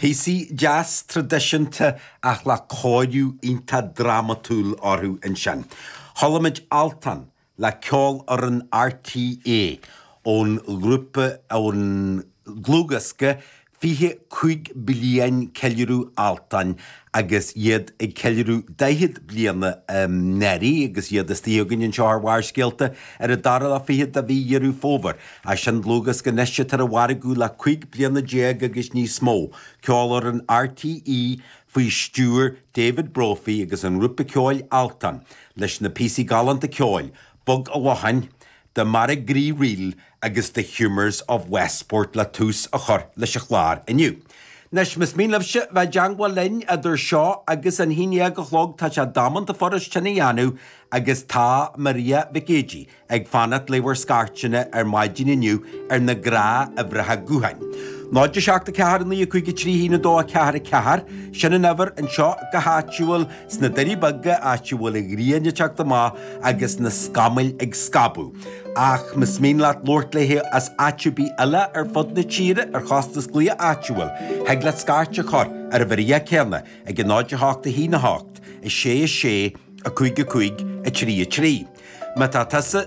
Píosaí deas traidisiúnta ach le cóiriú iontach drámatúil orthu ansin. Chuala muid Altan le Ceolfhoireann RTÉ ón ghrúpa, ón dlúthdhiosca 25 Bliain Ceiliúradh Altan agus iad ag ceiliúradh 40 bliana anuraidh agus iad istigh againn anseo ar Bharrscéalta ar an dara lá fichead de mhí Dheireadh Fómhair. Ach sin dlúthdhiosca anois atá ar an mhargadh le 15 bliana agus níos mó. Ceolfhoireann RTÉ faoi stiúir David Brophy agus an ngrúpa ceoil Altan leis na píosaí galánta ceoil Bog a' Locháin, The Marrickgree Reel agus The Humours of Westport le tús a chur leis an chlár inniu. Anois, más mian libhse bheith i dteangmháil linn idir seo agus an haon dhéag a chlog, tá sé damanta furast sin a dhéanamh agus tá Maria Mhic Géidigh ag fanacht le bhur scairteanna ar maidin inniu ar na gnáthuimhreacha gutháin. 0 7 4 9 5 3 1 2 4 4, sin an uimhir anseo go háitiúil sna Doirí Beaga, áit a bhfuil an ghrian ag teacht amach agus na scamaill ag scabadh. Ach más mian leat labhairt léi as áit ar bith eile ar fud na tíre ar chostas glaoch áitiúil, thig leat scairt a chur ar an uimhir chéanna ag 0 8 1 8 6 6 5 5 3 3. Má tá tusa.